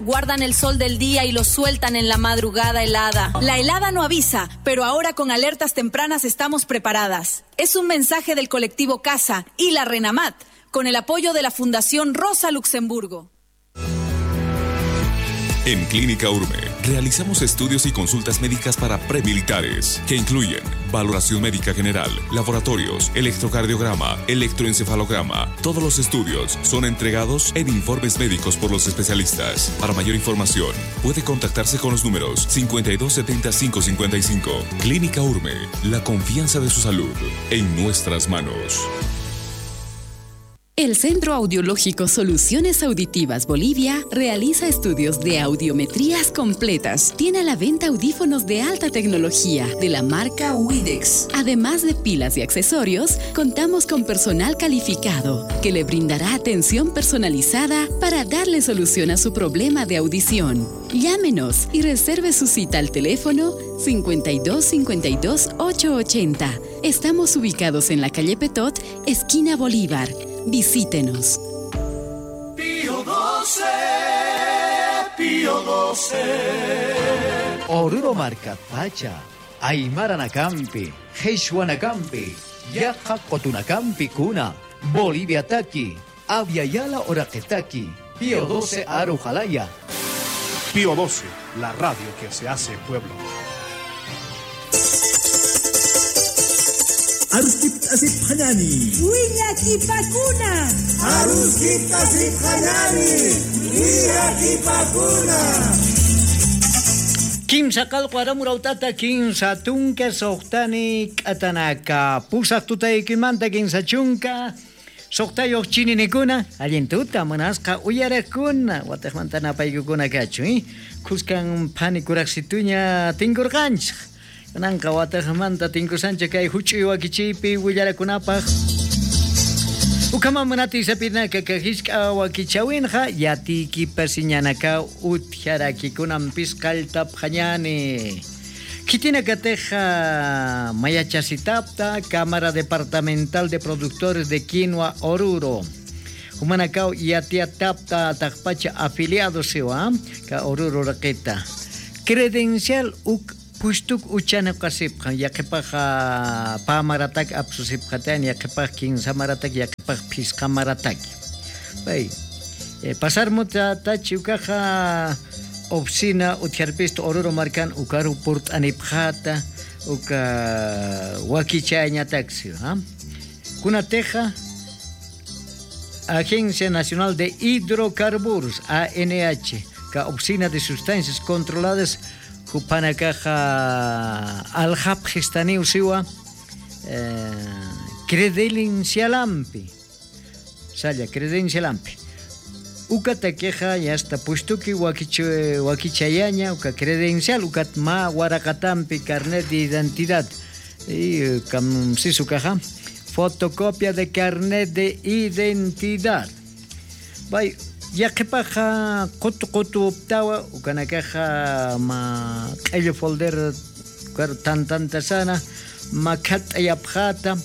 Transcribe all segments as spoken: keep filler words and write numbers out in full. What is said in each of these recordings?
Guardan el sol del día y lo sueltan en la madrugada helada. La helada no avisa, pero ahora con alertas tempranas estamos preparadas. Es un mensaje del colectivo Casa y la Renamat, con el apoyo de la Fundación Rosa Luxemburgo. En Clínica Urme realizamos estudios y consultas médicas para premilitares, que incluyen valoración médica general, laboratorios, electrocardiograma, electroencefalograma. Todos los estudios son entregados en informes médicos por los especialistas. Para mayor información, puede contactarse con los números cincuenta y dos setenta cinco cincuenta y cinco. Clínica Urme, la confianza de su salud en nuestras manos. El Centro Audiológico Soluciones Auditivas Bolivia realiza estudios de audiometrías completas. Tiene a la venta audífonos de alta tecnología de la marca Widex. Además de pilas y accesorios, contamos con personal calificado que le brindará atención personalizada para darle solución a su problema de audición. Llámenos y reserve su cita al teléfono cincuenta y dos cincuenta y dos ocho ochenta. Estamos ubicados en la calle Petot, esquina Bolívar. Visítenos. Pío doce, Pío doce. Oruro markatpacha, aymaranakampi, qhichwanakampi, yaqha qutunakampi kuna, Boliviataki, Abya Yala uraqitaki, Pío doce aruxalaya. Pío doce, la radio que se hace pueblo. Aruskipt'asipxañani. Willakipakuna. Aruskipt'asipxañani. Willakipakuna. Kimsa qallqu aram urawt'ata kinsa tunka suxtani k'atanaka. Pusaq tutaykimanta kinsa chunka suxtayux chininikuna, allin tuta munasqa uyariqkuna, watixmanta napaykukuna kachun, ¿eh? Khuskan phani kuraqsituña tinkurqanchik. Kunanqa watixmanta tinkusanchik kay juch'uy wakichiypi willarakunapaq. Ukhaman munatiy sapinaka, kay jisk'a wakichäwinxa yatiykipasiñanakaw utjarakikunampis qalltapxañani. Khitinakatixa mayachasitapta Cámara Departamental de Productores de Quinua Oruro. Jumanakaw yatiyatapta taqpacha afiliado siwa, ka Oruro uraqita. Credencial uk pustuk uchaniqasipxan, yaqhipax pä maratak apsusipxatayna, yaqhipax kinsa maratak, yaqhipax phisqa maratak. Pay, eh, pasar mutatachi ukaxa oficina utjarpista Oruro markan ukaru purt'anipxata, uka wakichayañataksi, ¿ah? Kunatixa Agencia Nacional de Hidrocarburos, A N H, ka Oficina de Sustancias Controladas, jupanakaxa aljapxistaniw siwa, eh, credencialampi. Salla, credencialampi. Ukatakixa yasta pushtuki wakich-, wakichayaña, uka credencial, ukat mä waraqatampi carnet de identidad. Y, eh, kam-, sis ukaxa, fotocopia de carnet de identidad. Bay, yaqhipaxa qutu qutuptawa, ukanakaxa mä q'illu folder, ukaru tantantasana, mä khatt'ayapxata,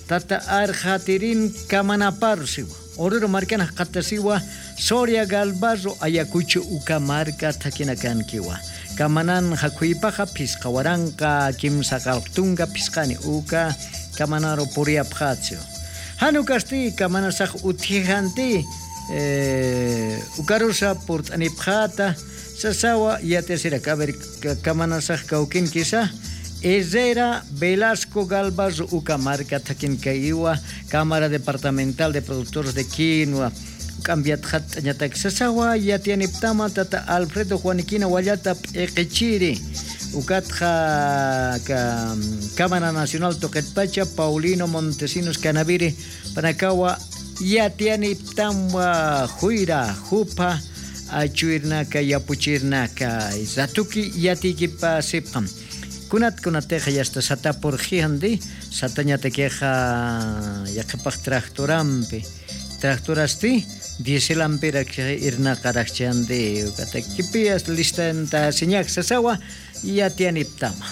tata arxatirin kamanapar siwa. Oruro markan jaqatasiwa, Soria Galbarro Ayacucho uka marka thakinakankiwa. Kamananxa khuypaxa phisqa waranqa kimsa qallqu tunka phisqani uka kamanaru puriyapxatsiwa. Jan ukasti kamanasax utjijanti, eh, ukarusa purt'anipxata, sasawa yatiyasiraki. A ver, ka-, kamanasax kawkinkisa, Herrera Velasco Galvarro uka marka thakinkayiwa, Cámara Departamental de Productores de Quinua, k'ampi yatxatt'añatak sasawa yatiyaniptama, tata Alfredo Juaniquina Wallata p'iqichiri, ukatxa ka-, Cámara Nacional tuqitpacha Paulino Montesinos Canaviri, panakawa yatiyaniptamwa juyra, jupha achuwirnaka, yapuchirnaka, ratuki yatiykipasipxam. Kunat kunatixa yasta sata purxijandi, satañatakixa yaqhipax tractorampi, tractorasti, dieselampirak irnaqarakchandi, ukatakipi listantasiñak sasawa, yatiyaniptama.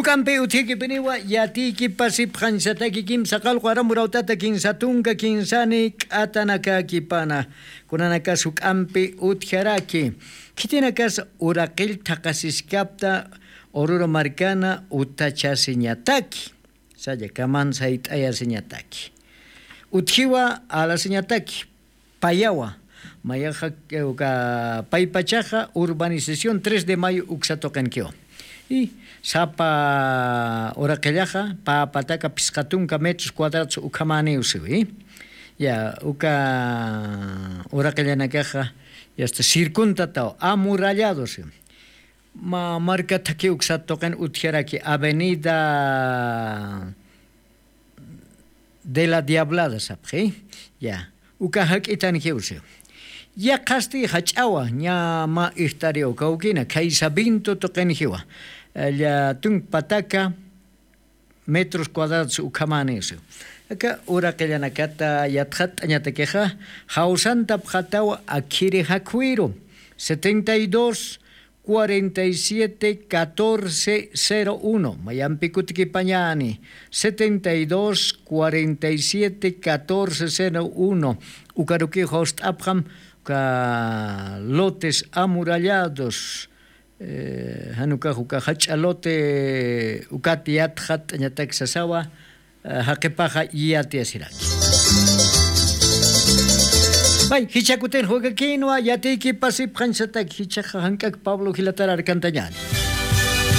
Juk'ampi utjikipiniwa yatiykipasipxañsataki kimsa qallqu aramurawtata kinsa tunka kinsani k'atanakakipana. Kunanakas juk'ampi utjaraki, khitinakas uraqill thaqasiskapta ururu markana utachasiñataki, saya kaman sayt'ayasiñataki. Utjiwa alasiñataki payawa, mayaxa uka paypachaxa urbanización tres de mayo uksatuqinkiwa. Y sapa uraqillaxa pä pataka phisqa tunka metros cuadrados ukhamaniw siwi. Ya uka uraqillanakaxa yasta circuntataw amurallado siwi. Ma marka thakhi uksat tuqin utjaraki avenida de la diablada sapxi. Ya uka jak'itan jiwsi. Yaqhasti jach'awa ña mä ijt'ariw kawkina khaysa vinto tuqin jiwa. Lla tunk pataka metros cuadrados ukhamanisi. Aka uraqillanakata yatxatt'añatakixa jawsantapxataw akhiri jakwiru setenta y dos cuarenta y siete catorce cero uno, mayampi kutikipañani setenta y dos cuarenta y siete catorce cero uno. Ukaruki jawst'apxam uka lotes amurallados. Janukax uka jach'a lote ukat yatxatt'añatak sasawa. Jaqipaxa yatiyasiraki. May jichakutin jukakinwa yatiykipasipxañsatak jichaxa jank'ak pablo jilatar arkantañani.